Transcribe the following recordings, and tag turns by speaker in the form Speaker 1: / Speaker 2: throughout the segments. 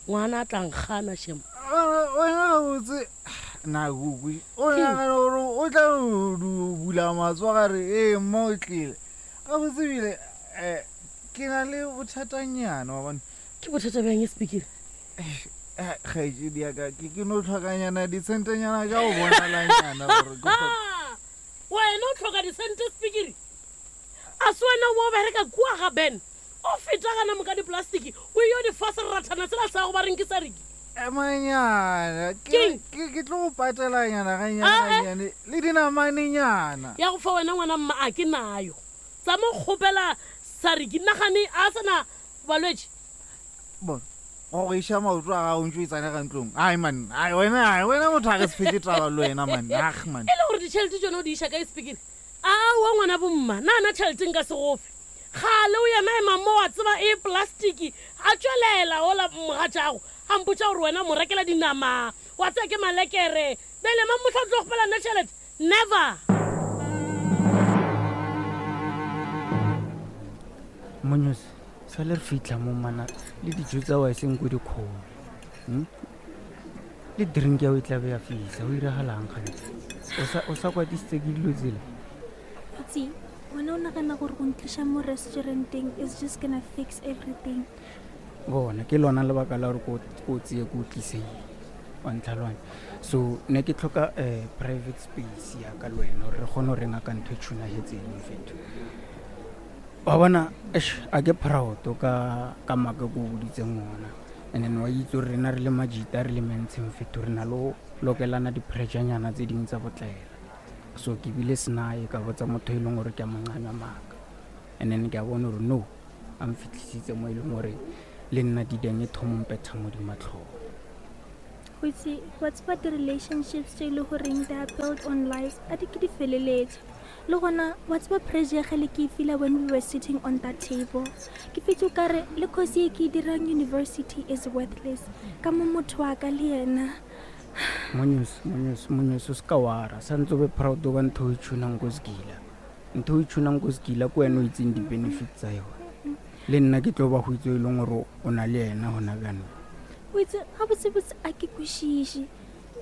Speaker 1: Ngwana a tla nkgana shem.
Speaker 2: Wena gabotse na kukwe o nagana gore o tla bula matsogo a re ee mma o tlile gabotse ebile um ke na le bothatanyana wa bona.
Speaker 1: Ke bothata bjang e Spikiri?
Speaker 2: Kgaetšedi ya ka ke no tlhokanyana disentenyana tša go bonalanyana gore ke
Speaker 1: Wena o tlhoka disente Spikiri? A se wena o bereka kua ga Ben O feta gana moka diplastiki o eyo di fa serathana sela sa go ba reng ke sa riki.
Speaker 2: Emanyana ke ke ke tlo go patelanyana gannyane gannyane le dinamanenyana.
Speaker 1: Ya go fa wena ngwana mma a ke nayo. Tsa mo kgopela Sariki nagane a sa na balwetši.
Speaker 2: Bona go go iša maoto a gago ntse o e tsena ka ntlong. Ai man, ai wena, ai wena motho a re se fetse taba le wena man. Ag man.
Speaker 1: E le gore ditšhelete tšona o di iša kae Spikiri? Aowa ngwana bomma, na na tšhelete nka se go fe. Kgale o yena ema mo wa tseba e plastiki a tšwelela ola mogatšago a mpotša gore wena o mo rekela dinama wa tseba ke malekere bjale mang mohla o tlo kgopela nna tšhelete never.
Speaker 3: Monyose sale re fitlha mo mana le dijo tsa wa eseng ko dikgolo hmm? Le drink ya o e tlabe ya fitlha o iragalang gantsi o sa kwatisitse ke dilo tsela.
Speaker 4: Itse, wena o nagana gore go ntliša mo restauranteng is just gonna fix everything.
Speaker 3: Bona ke lona lebaka la gore ko tseye ko tliseng wa ntlhalwane so ne ke tlhoka um private space ya ka le wena gore re kgone go renga ka ntho e tshunagetseng fetho wa bona a ke proud ka ka maaka ko boditseng ona. And then wa itse gore rena re le majita re le mentsheng fetho re na le lokelana di-pressurenyana tse dingwe tsa botlaela. So ke bile senae ka botsa motho e leng gore ke a moncanywa maaka. And then ke a bona gore no, a mfitlhisitse mo e leng gore le nna dideng e thomo mpetha mo dimatlhong.
Speaker 4: Go itse wa tseba di-relationships tse e le goreng they are built on lies a di ke di feleletše. Le gona wa tseba pressure ya gale ke e feela when we were sitting on that table. Ke fetse o kare le course ye ke e dirang university is worthless ka mo motho wa ka le yena.
Speaker 3: Monyos, monyos, monyos, o se ka wara. Santse o be proud ka ntho o e tshunang ko sekila. Ntho o e tshunang ko sekila ke wena o itseng di-benefit tsa yone. Le nna ke tlo ba go itse e leng gore o na le yena gona bjanong.
Speaker 4: O itse gabotsebotse a ke kwešiše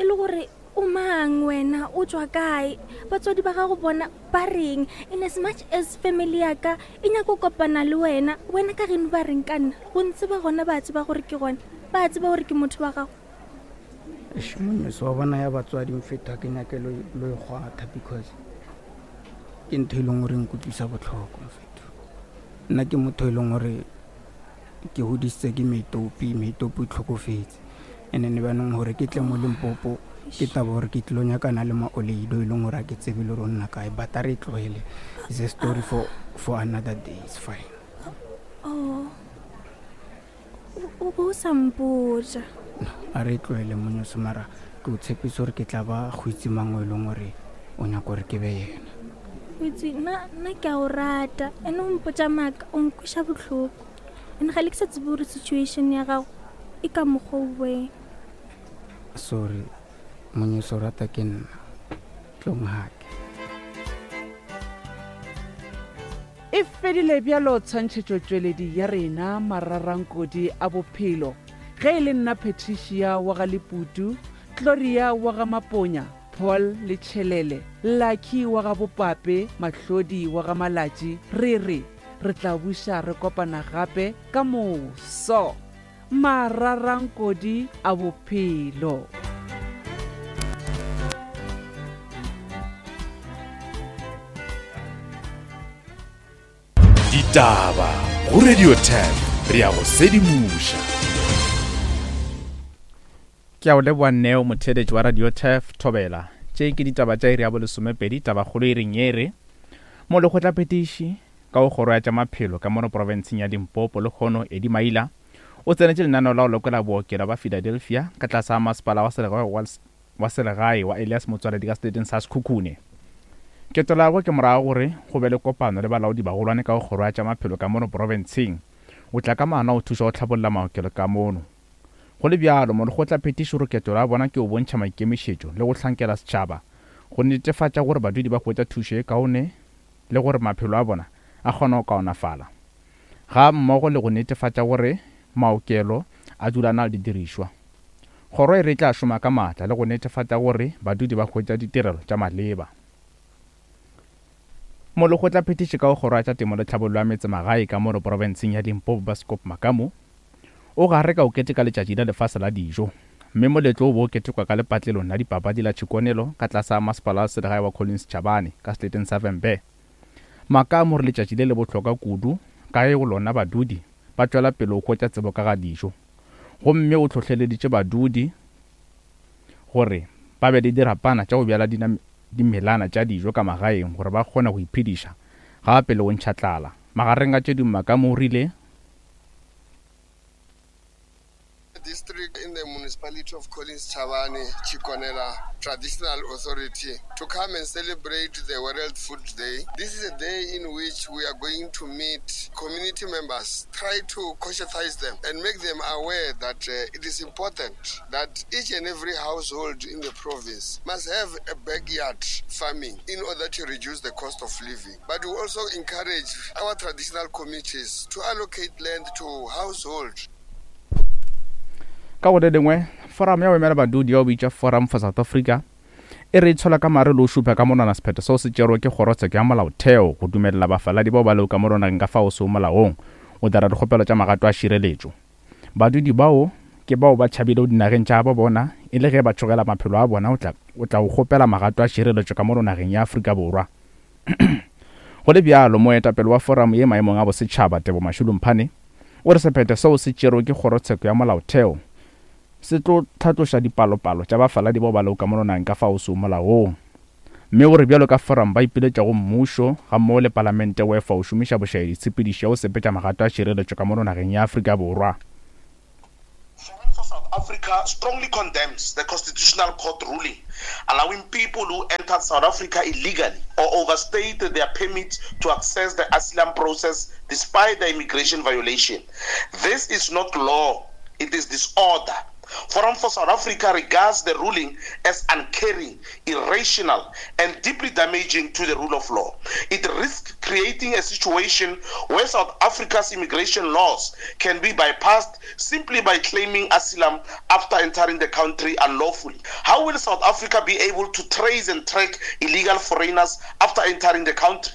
Speaker 4: e le gore o mang wena, o tšwa kae, batswadi ba gago bona ba reng. In as much as family ya ka e nyaka go kopana le wena, wena ka geno ba reng ka nna? Go ntseba gona ba tseba gore ke gona, ba tseba gore ke motho wa gago.
Speaker 3: Eish, monyeso wa bona ya batswadi mfetho ke nyake lo e kgwatha because ke ntho e leng gore nkutlwisa botlhoko mfetho. Nna ke motho e leng gore ke godisitse ke meitopi, meitopi o tlhokofetse. And then banong gore ke tle mo Limpopo ke taba gore ke tlilo nyakana le maoleido e leng gore a ke tsebe le gore o nna kae, but a re e tlogele. It's a story for, for another day, it's fine.
Speaker 4: Oh. O bo o sa mpotša.
Speaker 3: A re tlohele monyoso mara ke o tshepisa gore ke tla ba go itse mang o e leng gore o nyaka gore ke be yena.
Speaker 4: O itse nna nna ke a o rata ene o mpotša maaka o nkweša bohloko ene ga le ke sa tsebe gore situation ya gago e ka mokgwa o weng.
Speaker 3: Sorry monyoso o rata ke nna tlong hake.
Speaker 5: E fedile bjalo tshwantšhetšotšweledi ya rena Mararankodi a Bophelo. Ge e le nna Patricia wa ga Leputu, Gloria wa ga Maponya, Paul le Tšhelele, Lucky wa ga Bopape, Mahlodi wa ga Malatši, re re re tla buša re kopana gape ka moso. Mararankodi a Bophelo.
Speaker 6: Ditaba go Radio 10 re ya go sedimoša.
Speaker 7: Ke a o leboa Neo motheeletši wa Radio Turf Thobela. Tše ke ditaba tša iri ya bolesomepedi, tabakgolo e reng e re Molekgotlaphethiši ka go kgoro ya tša maphelo ka mono profenseng ya Limpopo lehono Eddie Maila o tsenetše lenaneo la go lekola bookelo ba Philadelphia ka tlase ga masepala wa selegae wa selegae wa Elias Motswaledi ka seleteng sa Sekhukhune. Ketelo ya gagwe ke morago gore go be le kopano le balaodi bagolwane ka go kgoro ya tša maphelo ka mono profenseng. O tla ka maano a go thuša go hlabolla maokelo ka mono. Go le bjalo, molekgotlaphethiši o re ketelo ya bona ke go bontšha maikemišetšo le go hlankela setšhaba go netefatša gore badudi ba hwetša thušo ye kaone le gore maphelo a bona a kgona go kaonafala, ga mmogo le go netefatša gore maokelo a dula a na le didirišwa. Kgoro e re e tla šoma ka maatla le go netefatša gore badudi ba hwetša ditirelo tša maleba. Molekgotlaphethiši ka go Kgoro ya tša Temo le Tlhabollo ya Metsemagae ka mono profenseng ya Limpopo Baskop Makamu o gare ka o keteka letšatši la lefase la dijo mme moletlo o bo o ketekwa ka lepatlelong la dipapadi la Tshikonelo ka tlase ga masepala wa selegae wa Collins Chabane ka seleteng sa Vhembe. Makamu o re letšatši le le bohlokwa kudu ka ge go lona badudi ba tšwela pele go hwetša tsebo ka ga dijo gomme o hlohleleditše badudi gore ba be le dirapana tša go bjala dimelana tša dijo ka magaeng gore ba kgone go iphediša gape le go ntšha tlala. Magareng a tše dingwe Makamu o rile.
Speaker 8: District in the municipality of Collins Chabane, Tshikonela Traditional Authority to come and celebrate the World Food Day. This is a day in which we are going to meet community members, try to conscientize them and make them aware that uh, it is important that each and every household in the province must have a backyard farming in order to reduce the cost of living. But we also encourage our traditional committees to allocate land to households.
Speaker 7: Ka go le lengwe, Forum ya go emela badudi ya go bitšwa Forum for South Africa e re e tshola ka mare le go šupa ka monwana sephetho seo se tšerwego ke Kgorotsheko ya Molaotheo go dumelela bafaladi bao ba lego ka mono nageng ka fao seo molaong go dira dikgopelo tša magato a šireletšo. Badudi bao ke bao ba tšhabilego dinageng tša gabo bona e le ge ba tšhogela maphelo a bona go tla go tla go kgopela magato a šireletšo ka mono nageng ya Afrika Borwa. Go le bjalo, moetapele wa foramo ye maemong a bosetšhaba, Tebo Mashulu Mphane, o re sephetho seo se tšerwe ke Kgorotsheko ya Molaotheo se tlo hlatloša dipalopalo tša bafaladi bao ba lego ka mono nageng ka fao seo molaong. Mme o re bjalo ka forum ba ipiletša go mmušo gammogo le palamente go efa go šomiša bošaedi tshepedišo ya go sepetša magato a tšhireletšo ka mono nageng ya Afrika Borwa.
Speaker 9: Forum for South Africa strongly condemns the Constitutional Court ruling allowing people who entered South Africa illegally or overstayed their permits to access the asylum process despite the immigration violation. This is not law, it is disorder. Forum for South Africa regards the ruling as uncaring, irrational, and deeply damaging to the rule of law. It risks creating a situation where South Africa's immigration laws can be bypassed simply by claiming asylum after entering the country unlawfully. How will South Africa be able to trace and track illegal foreigners after entering the country?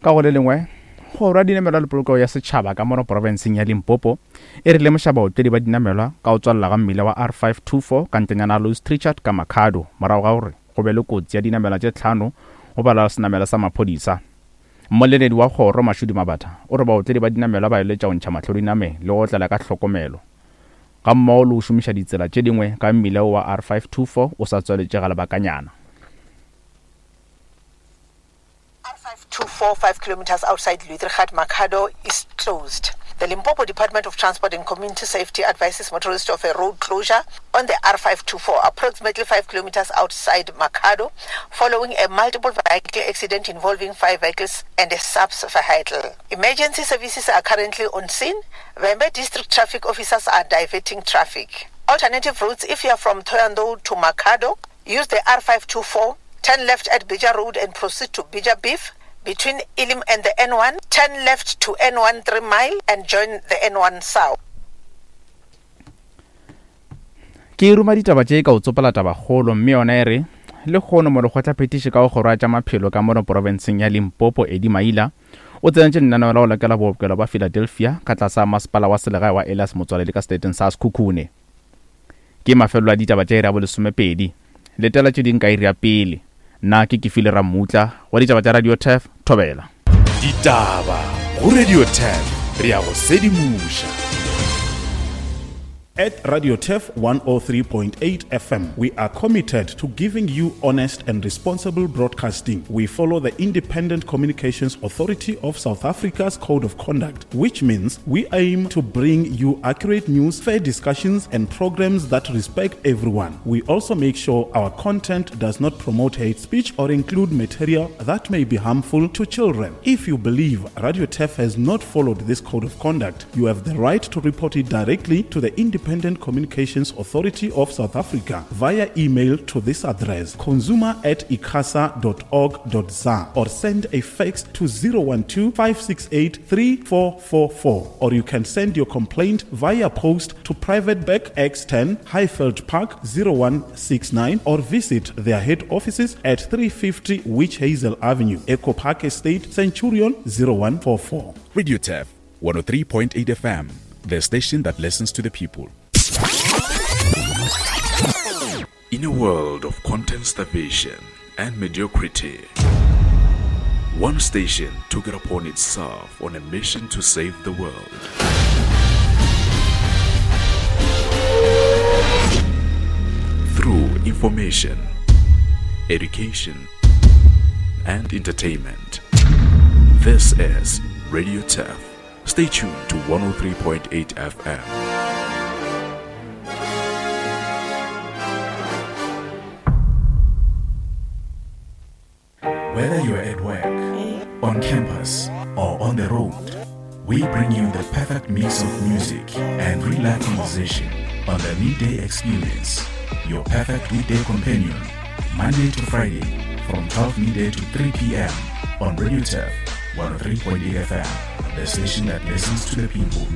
Speaker 7: Ka go le lengwe, Kgoro ya Dinamelwa le Polokego ya Setšhaba ka mono profenseng ya Limpopo e re lemoša baotledi ba dinamelwa ka go tswalela ga mmila wa R524 ka ntlenyana ya Louis Trichardt ka Makhado morago ga gore go be le kotsi ya dinamelwa tše tlhano go balwa senamelwa sa maphodisa. Mmoleledi wa kgoro, Mashudu Mabatha, o re baotledi ba dinamelwa ba eletša go ntšha mahlo dinameng le go otlela ka hlokomelo gammogo le go šomiša ditsela tše dingwe ka mmila wo wa R524 o sa tswaletše ga lebakanyana.
Speaker 10: R524 5 kilometers outside Luitrigat, Makhado is closed. The Limpopo Department of Transport and Community Safety advises motorists of a road closure on the R524, approximately 5 kilometers outside Makhado, following a multiple vehicle accident involving five vehicles and a subs vehicle. Emergency services are currently on scene. Vhembe District traffic officers are diverting traffic. Alternative routes, if you are from Thohoyandou to Makhado, use the R524, turn left at Bija Road and proceed to Bija Beef between Elim and the N1, turn left to N1 3 Mile and join the N1 South.
Speaker 7: Ke ruma ditaba tše ka o tsopola tabakgolo mme yona e re lehono molekgotlaphethiši ka go kgoro ya tša maphelo ka mono porofenseng ya Limpopo Eddie Maila o tsenetše lenaneo la go lekela bookelo ba Philadelphia ka tlase ga masepala wa selegae wa Elias Motswaledi ka seleteng sa Sekhukhune. Ke mafelelo a ditaba tša iri ya bolesomepedi. Letela tše ding ka iri ya pele. Nna ke Kefile Rammutla wa ditaba tša Radio Turf, Thobela.
Speaker 6: Ditaba go Radio Turf, re a go sedimoša.
Speaker 11: At Radio Turf 103.8 FM, we are committed to giving you honest and responsible broadcasting. We follow the Independent Communications Authority of South Africa's Code of Conduct, which means we aim to bring you accurate news, fair discussions, and programs that respect everyone. We also make sure our content does not promote hate speech or include material that may be harmful to children. If you believe Radio Turf has not followed this code of conduct, you have the right to report it directly to the Independent Independent Communications Authority of South Africa via email to this address consumer at icasa.org.za or send a fax to 012 568 3444 or you can send your complaint via post to Private Bank X10 Highveld Park 0169 or visit their head offices at 350 Witch Hazel Avenue, Echo Park Estate, Centurion 0144.
Speaker 6: Radio Turf 103.8 FM, the station that listens to the people. In a world of content starvation and mediocrity, one station took it upon itself on a mission to save the world. Through information, education, and entertainment. This is Radio Turf. Stay tuned to 103.8 FM. Whether you're at work, on campus, or on the road, we bring you the perfect mix of music and real life conversation on the Midday Experience, your perfect weekday companion, Monday to Friday from 12 midday to 3 p.m. on Radio Turf 103.8 FM, the station that listens to the people.